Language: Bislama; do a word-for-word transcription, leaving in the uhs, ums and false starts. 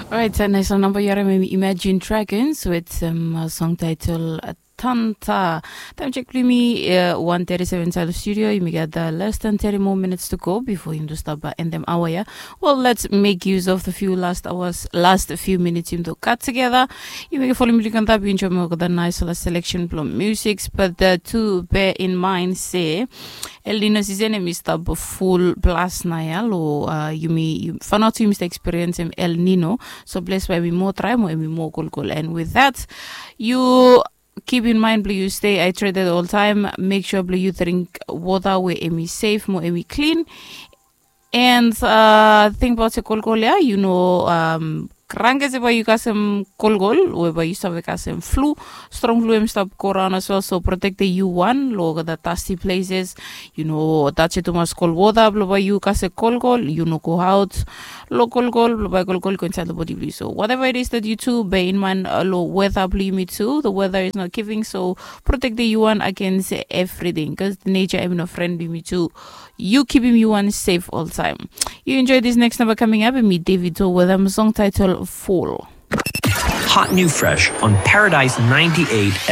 Orait, nais namba yu harim em Imagine Dragons with um, song title uh, Tanta. Taem check blong yumi uh, one thirty-seven inside of studio. Yumi gat uh, less than thirty more minutes to go before yumi do stop uh, end them hour ya. Well, let's make use of the few last hours, last few minutes yumi do cut together. Yumi follow yumi do cut up, yumi enjoy more the nice last selection blong music. But uh, to bear in mind, say El Nino season em i stap full plus na ya lo uh, yumi fanaot yumi stap experience em El Nino. So bless by mi more try mo em i more cool cool. And with that, you keep in mind blong you stay hydrated all time. Make sure blong you drink water where em i safe mo em i clean. And uh, think about se kolkol ya, you know, um, kranke se ba you kasem kolkol we ba you save kasem flu. Strong flu em stop go around as well, so protect the you one lo the dusty places. You know, touch it too much cold water blo ba you kase kolkol, you no go out. Lo kolkol blo ba kolkol go inside the body blo you. So whatever it is that you do, bear in mind uh, lo weather blo me too. The weather is not giving, so protect the you one against everything because the nature em no friend blo me too. You keep him you one safe all time. You enjoy this next number coming up and meet David Toe with a song title Fall. Hot new fresh on Paradise ninety-eight F